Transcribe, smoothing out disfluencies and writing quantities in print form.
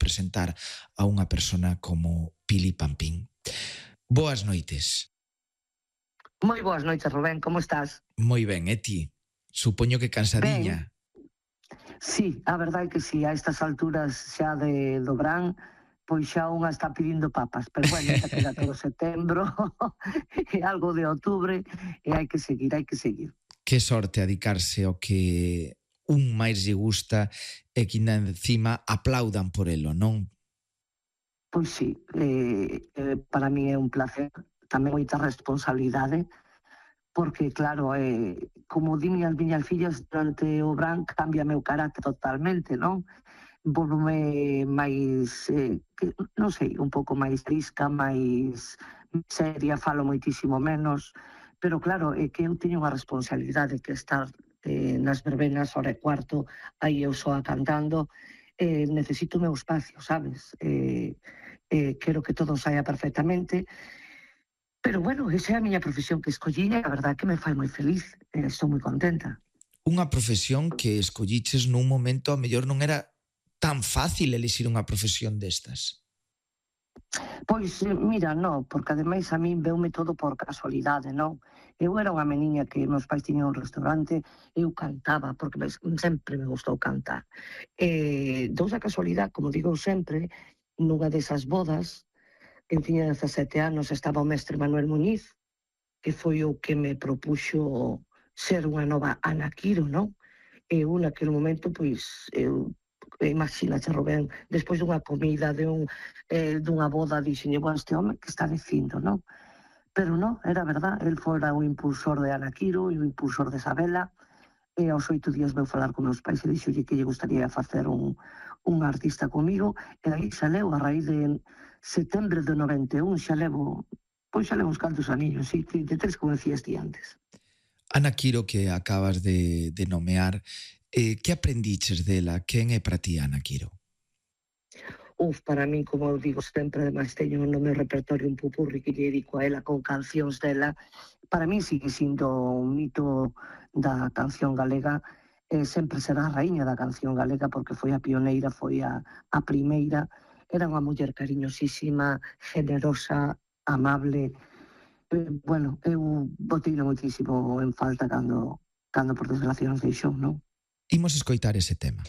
representar a unha persona como Pili Pampín. Boas noites. Moi boas noites, Rubén, como estás? Moi ben, e ti? Supoño que cansadiña. Sí, a verdade é que sí, a estas alturas xa do verán, pois xa unha está pedindo papas, pero bueno, ainda queda todo setembro e algo de outubro e hai que seguir, hai que seguir. Que sorte dedicarse ao que un máis lle gusta e que ainda encima aplaudan por elo, non? Pois sí, para mí é un placer, tamén moita responsabilidade, porque claro, como di miñas fillas, durante o verán cambia meu carácter totalmente, non? Volvome máis, non sei, un pouco máis trisca, máis seria, falo moitísimo menos, pero claro, é que eu teño unha responsabilidade que estar nas verbenas, hora e cuarto, aí eu soa cantando, necesito o meu espacio, sabes? Quero que todo saia perfectamente, pero bueno, esa é a miña profesión que escollí e a verdade que me fai moi feliz, estou moi contenta. Unha profesión que escolliches nun momento a mellor non era tan fácil elixir unha profesión destas. Pois, mira, non, porque ademais a min veume todo por casualidade, non? Eu era unha meniña que meus pais tiñan un restaurante, eu cantaba, porque sempre me gustou cantar. Dous a casualidade, como digo sempre, nunha desas bodas, eu tiña 17 anos, estaba o mestre Manuel Muñiz, que foi o que me propuxo ser unha nova Ana Quiro, non? E eu naquele momento, pois, imagínate, Rubén, despois dunha comida, dunha boda, dixenlle, bueno, este home que está dicindo, non? Pero non, era verdad, el fora o impulsor de Ana Quiro e o impulsor de Isabela, e aos 8 días veu falar con meus pais e dixolle que lle gustaría facer un artista comigo, e aí xa leu, a raíz de setembro de 91, xa levo uns cantos aniños, sí, 33, como decías ti antes. Ana Quiro, que acabas de nomear, que aprendiches dela? Quen é para ti Ana Quiro? Para min, como eu digo sempre, ademais teño no meu repertorio un pupurri que lle dedico a ela con cancións dela. Para min sigue sindo un mito da canción galega, sempre será a raíña da canción galega porque foi a pioneira, foi a primeira. Era unha muller cariñosísima, generosa, amable. Bueno, eu boteino moitísimo en falta cando por desgracia nos deixou, non? Imos escoitar ese tema.